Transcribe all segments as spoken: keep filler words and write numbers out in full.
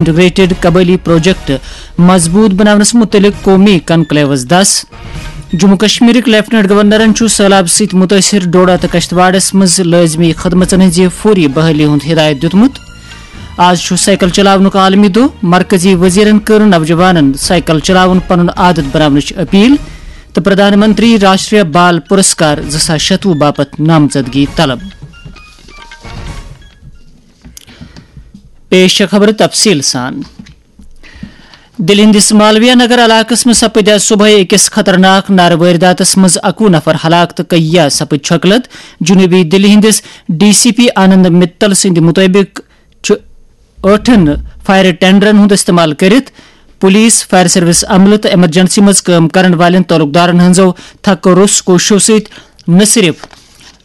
Integrated قبٲئلی project مضبوط بناونس متعلق قومی کنکلیوس دس۔ جموں کشمیرٕکۍ لیفٹیننٹ گورنرن چھُ سٔہلاب سۭتۍ مُتٲثِر ڈوڈا تہٕ کشتواڑس منٛز لٲزمی خدمژن ہٕنٛزِ فوری بحٲلی ہُنٛد ہدایت دیُتمُت۔ آز چھُ سائیکل چلاونُک عالمی دۄہ، مرکزی وزیرن کٔر نوجوانن سائیکل چلاوُن پنُن عادت بناونٕچ اپیل تہٕ پردھان منتری راشٹریہ بال پرسکار زٕ ساس شتوُہ باپتھ نامزدگی طلب۔ پیش چھےٚ خبرٕ تفصیٖل سان۔ دِلہِ ہٕنٛدِس مالویا نگر علاقس منٛز سپٕدۍ آز صبحٲے أکِس خطرناک نارٕ وٲرۍداتس منٛز اَکوُہ نفر ہلاک تہٕ کٔہیا سپٕدۍ چھۄکہٕ لد۔ جنوٗبی دِلہِ ہٕنٛدِس ڈی سی پی آنند متل سٕنٛدِ مُطٲبِق چھُ ٲٹھن فائر ٹینڈرن ہُنٛد استعمال کٔرِتھ پولیس، فائر سروس عملہٕ تہٕ ایمرجنسی منٛز کٲم کرن والٮ۪ن تعلقدارن ہٕنٛزو تھکہٕ روٚس کوٗششو سۭتۍ نہ صرف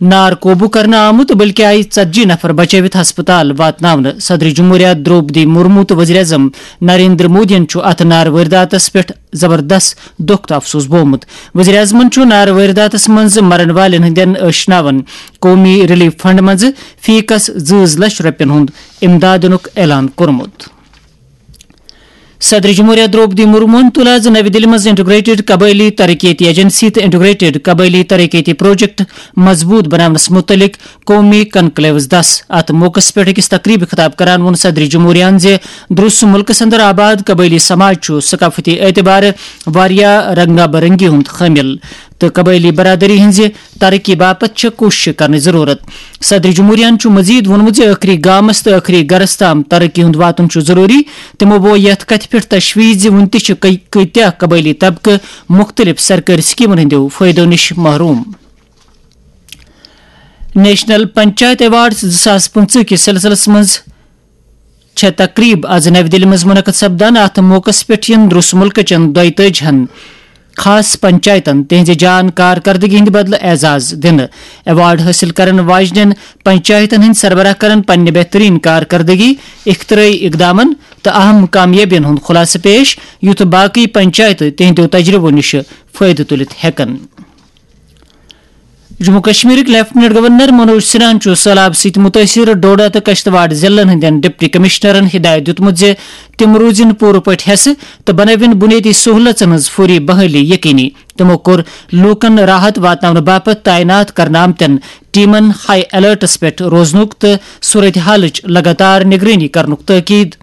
نار قوبوٗ کرنہٕ آمُت، بلکہِ آیہِ ژتجی نفر بچٲوِتھ ہسپتال واتناونہٕ۔ صدر جمہوریہ درٛوپدی مرمو تہٕ وزیر اعظم نریندر مودیَن چھُ اتھ نارٕ وٲرۍداتس پٮ۪ٹھ زبردست دۄکھ تہٕ افسوس بوومُت۔ وزیر اعظمَن چھُ نارٕ وٲرۍداتس منٛز مرن والٮ۪ن ہٕنٛدٮ۪ن ٲشناون قومی ریلیف فنڈ منٛز فی کس زٕ لچھ رۄپین ہُنٛد امداد دِنُک اعلان کوٚرمُت۔ صدر جمہوریہ درٛوپدی مرموہن تُل آز نَوِ دِلہِ منٛز انٹیگریٹڈ قبٲئلی ترقیتی ایجنسی تہٕ انٹیگریٹڈ قبٲئلی ترقیتی پروجیکٹ مضبوط بناونس متعلق قومی کنکلیوس دس۔ اتھ موقعس پٮ۪ٹھ أکِس تقریبہِ خطاب کران ووٚن صدر جمہوریہن زِ درست ملکس اندر آباد قبٲئلی سماج چھُ ثقافتی اعتبارٕ واریاہ رنگا برنگی ہُنٛد حٲمِل تہٕ قبٲئلی برادری ہٕنٛزِ ترقی باپتھ چھےٚ کوٗشش کرنٕچ ضروٗرت۔ صدر جمہوریہن چھُ مزید ووٚنمُت زِ ٲخری گامس تہٕ ٲخری گرس تام ترقی ہُنٛد واتُن چھُ ضروٗری۔ تِمو ووٚن یتھ کتھِ پٮ۪ٹھ تشویش زِ وُنہِ تہِ چھِ کٔ-، کۭتیاہ قبٲئلی طبقہٕ مُختٔلِف سرکٲرۍ سکیمن ہٕنٛدیو فٲیدو نِش محروم۔ نیشنل پنچایت ایوارڈز زٕ ساس پٕنٛژٕہ کِس سلسلس منٛز چھےٚ تقریب آز نَوِ دِلہِ منٛز منعقد سپدان۔ اتھ موقعس پٮ۪ٹھ یِن درٛس مُلکہٕ چٮ۪ن دۄیہِ تٲجی ہن خاص پنچایتن تِہنٛزِ جان کارکردگی ہٕنٛدِ بدلہٕ اعزاز دِنہٕ۔ ایوارڈ حٲصِل کرن واجنٮ۪ن پنچایتن ہٕنٛدۍ سربراہ کرن پننہِ بہترین کارکردگی، اختراعی اقدامن تہٕ اہم کامیٲبین ہُنٛد خلاصہٕ پیش، یُتھ باقی پنچایتہٕ تِہنٛدیو تجربو نِش فٲیدٕ تُلِتھ ہٮ۪کن۔ جموں کشمیرٕکۍ لیفٹیننٹ گورنر منوج سنہاہن چھُ سٔہلاب سۭتۍ مُتٲثِر ڈوڈا تہٕ کشتواڑ ضلعن ہٕنٛدٮ۪ن ڈپٹی کمشنرن ہدایت دیُتمُت زِ تِم روٗزِن پوٗرٕ پٲٹھۍ ہٮ۪سہٕ تہٕ بنٲوِن بُنیٲدی سہوٗلژن ہٕنٛز فوری بحٲلی یقینی۔ تِمو کوٚر لوٗکن راحت واتناونہٕ باپتھ تعینات کرنہٕ آمتٮ۪ن ٹیمن ہائی الرٹس پٮ۪ٹھ روزنُک تہٕ صورتحالٕچ لگاتار نگرٲنی کرنُک تٲکید۔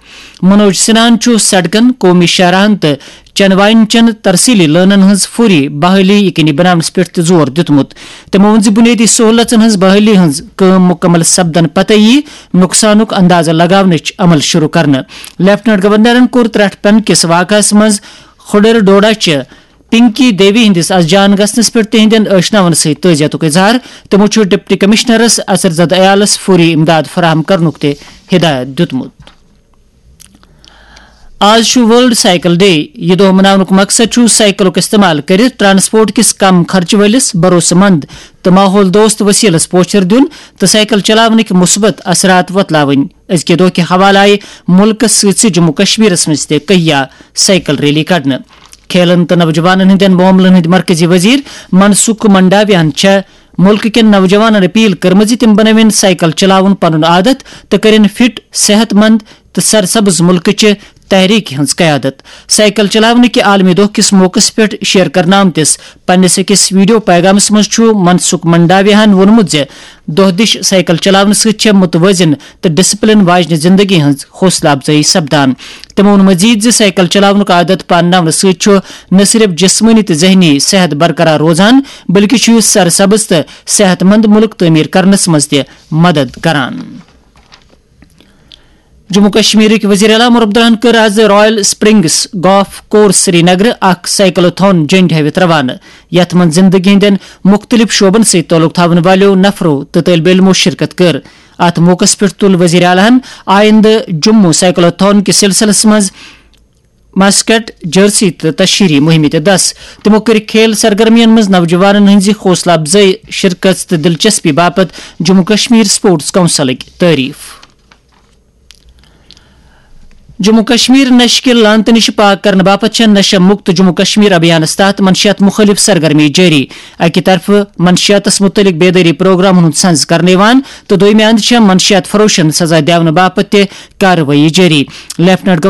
منوج سنہاہن چھُ سڑکن، قومی شاہراہن تہٕ چنوائن چٮ۪ن ترسیلی لٲنن ہٕنٛز فوری بحالی یقینی بناونس پٮ۪ٹھ تہِ زور دیُتمُت۔ تِمو ووٚن زِ بُنیٲدی سہوٗلژن ہٕنٛز بحٲلی ہٕنٛز کٲم مُکمل سپدن پتہٕ یِیہِ نۄقصانُک اندازٕ لگاونٕچ عمل شروع کرنہٕ۔ لیفٹیننٹ گورنرن کوٚر ترٹھ پین کِس واقعس منٛز کھُڈر ڈوڈا چہِ پنکی دیوی ہٕنٛدِس از جان گژھنس پٮ۪ٹھ تِہنٛدٮ۪ن ٲشناون سۭتۍ تعزیتُک اظہار۔ تِمو چھُ ڈپٹی کمشنرس اثر زدٕ عیالس فوری امداد فراہم کرنُک تہِ ہدایت دیُتمُت۔ آز چھُ ورلڈ سائیکل ڈے۔ یہِ دۄہ مناونُک مقصد چھُ سائیکلُک استعمال کٔرِتھ ٹرانسپورٹ کِس کم خرچہٕ وٲلِس، بھروسہٕ مند تہٕ ماحول دوست وسیلس پوچھر دیُن تہٕ سائیکل چلاونٕکۍ مثبت اثرات وۄتلاوٕنۍ۔ أزکہِ دۄہ کہِ حوالہٕ آیہِ مُلکس سۭتۍ سۭتۍ جموں کشمیرس منٛز تہِ کہیا سائیکل ریلی کڑنہٕ۔ کھیلن تہٕ نوجوانن ہٕنٛدٮ۪ن معاملن ہٕنٛدۍ مرکزی وزیر منسکھ منڈاویاہن چھےٚ مُلکہٕ کٮ۪ن نوجوانن اپیل کٔرمٕژ زِ تِم بنٲوِن سائیکل چلاوُن پنُن عادت تہٕ کٔرِن فٹ، صحت مند تہٕ سرسبز مُلکٕچہِ تحریکہِ ہٕنٛز قیادت۔ سائیکل چلاونہٕ کہِ عالمی دۄہ کِس موقعس پٮ۪ٹھ شیئر کرنہٕ آمتِس پننِس أکِس ویڈیو پیغامس منٛز چھُ منسکھ منڈاویاہن ووٚنمُت زِ دۄہ دِش سائیکل چلاونہٕ سۭتۍ چھےٚ متوازن تہٕ ڈسپلن واجنہِ زندگی ہٕنٛز حوصلہٕ افزٲیی سپدان۔ تِمو ووٚن مزید زِ سائیکل چلاونُک عادت پانناونہٕ سۭتۍ چھُ نہ صرف جسمٲنی تہٕ ذہنی صحت برقرار روزان، بلکہِ چھُ یہِ سرسبز تہٕ صحت مند مُلک تعمیٖر کرنس منٛز تہِ مدد کران۔ جموں کشمیرٕکۍ وزیر اعلیٰ عمر عبداللہن کٔر آز رائل سپرنگس گالف کورس سری نگرٕ اکھ سائیکلوتھون جنڈ ہٲوِتھ روانہٕ، یتھ منٛز زندگی ہٕنٛدٮ۪ن مُختٔلِف شعبن سۭتۍ تعلق تھاون والٮ۪و نفرو تہٕ طٲلبہِ علمو شرکت کٔر۔ اتھ موقعس پٮ۪ٹھ تُل وزیر اعلیٰ ہن آیندٕ جموں سائیکلوتھون کِس سلسلس منٛز مسکٹ، جرسی تہٕ تشہیری مہمہِ تہِ دس۔ تِمو کٔرۍ کھیل سرگرمین منٛز نوجوانن ہٕنٛزِ حوصلہٕ افزٲیی، شرکت تہٕ دلچسپی باپتھ جموں کشمیر سپورٹس کونسلٕکۍ تعریف۔ جموں کشمیر نشہٕ کہِ لعنتہٕ نِش پاک کرنہٕ باپتھ چھےٚ نشہ مکت جموں کشمیر ابھیانس تحت منشیات مخٲلف سرگرمی جٲری۔ اکہِ طرفہٕ منشیاتس متعلق بیدٲری پروگرامن ہُنٛد سنز کرنہٕ یِوان تہٕ دوٚیمہِ اندٕ چھےٚ منشیات فروشن سزا دِونہٕ باپتھ تہِ کاروٲیی جٲری۔ لیفٹننٹ